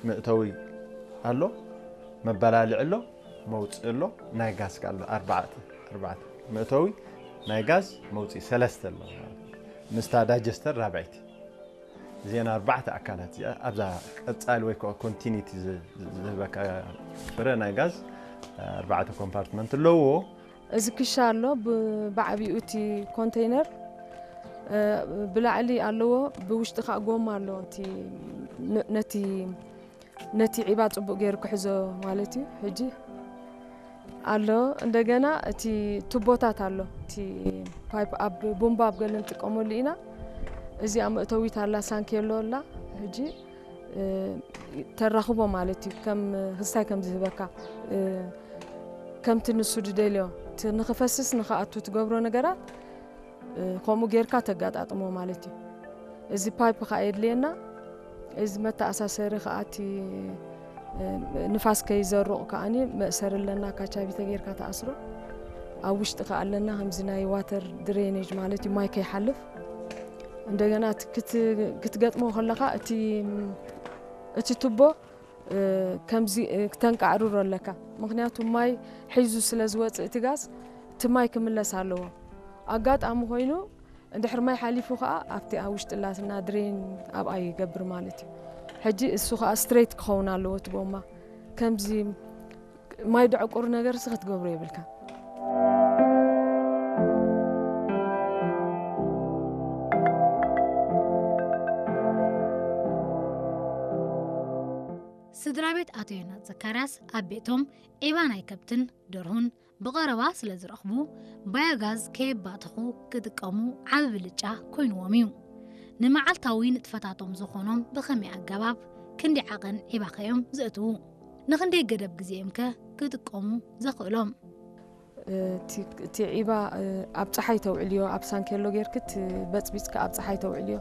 መእተዊ ኣሎ፣ መበላልዒ ኣሎ፣ መውፅኢ ኣሎ፣ ናይ ጋዝ ከ ኣሎ። ኣርባዕተ ኣርባዕተ፣ መእተዊ፣ ናይ ጋዝ፣ መውፅኢ ሰለስተ ኣሎ። ምስታ ዳይጀስተር ራብዐይቲ። እዚአን ኣርባዕተ ኣካላት እዚኣ ኣብዛ ቀፃሊ ወይ ከዓ ኮንቲኒቲ ዝህበካ ፍረ ናይ ጋዝ ኣርባዕተ ኮምፓርትመንት ኣለዎ። እዚ ክሻ ኣሎ፣ ብዓብኡ እቲ ኮንቴይነር ብላዕሊ ኣለዎ፣ ብውሽጢ ከዓ ጎማ ኣሎ። ነቲ ነቲ ዒባ ፅቡቅ ገይሩ ክሕዞ ማለት እዩ። ሕጂ ኣሎ፣ እንደገና እቲ ቱቦታት ኣሎ፣ እቲ ፓይፕ ኣብ ቡምባ ኣብ ገለ ንጥቀመሉ ኢና። እዚኣ መእተዊት ኣላ፣ ሳንኬሎ ኣላ። ሕጂ ተራኽቦ ማለት እዩ፣ ከም ህስታይ ከም ዝህበካ፣ ከምቲ ንሱ ዝደልዮ፣ እቲ ንኽፈስስ ንኽኣቱ ትገብሮ ነገራት ከምኡ ጌርካ ተጋጣጥሞ ማለት እዩ። እዚ ፓይፕ ከዓ የድልየና። እዚ መተኣሳሰሪ ከዓ እቲ ንፋስ ከይዘሩቕ ከዓኒ መእሰሪ ኣለና፣ ካቻቢተ ጌርካ ተኣስሮ። ኣብ ውሽጢ ከዓ ኣለና ከምዚ ናይ ዋተር ድሬኔጅ ማለት እዩ፣ ማይ ከይሓልፍ። እንደገና ክትገጥሞ ከለካ እቲ ቱቦ ከምዚ ክተንቃዕርሮ ኣለካ፣ ምክንያቱ ማይ ሒዙ ስለ ዝወፅእ እቲ ጋዝ፣ እቲ ማይ ክምለስ ኣለዎ። ኣጋጣሚ ኮይኑ እንድሕር ማይ ሓሊፉ ከዓ ኣብቲ ኣብ ውሽጢ ላትና ድሬን ኣብኣ ይገብር ማለት እዩ። ሕጂ እሱ ከዓ ስትሬት ክኸውን ኣለዎ እቲ ጎማ። ከምዚ ማይ ደዕቁር ነገር ሲ ክትገብሮ የብልካ። ስድራ ቤት ኣቶ ዮናስ ዘካርያስ ኣብ ቤቶም ዒባ ናይ ከብትን ደርሁን ብቐረባ ስለ ዝረኽቡ፣ ባዮጋዝ ከየባተኹ ክጥቀሙ ዓቢ ብልጫ ኮይንዎም እዩ። ንመዓልታዊ ንጥፈታቶም ዝኾኖም ብኸመይ ኣገባብ ክንዲ ዓቐን ዒባኸ እዮም ዘእትዉ? ንኽንደይ ገደብ ግዜ'ዮም ከ ክጥቀሙ ዘኽእሎም? እቲ ዒባ ኣብ ፀሓይ ተውዕልዮ፣ ኣብ ሳንኬሎ ጌርክት በፅቢፅካ ኣብ ፀሓይ ተውዕልዮ።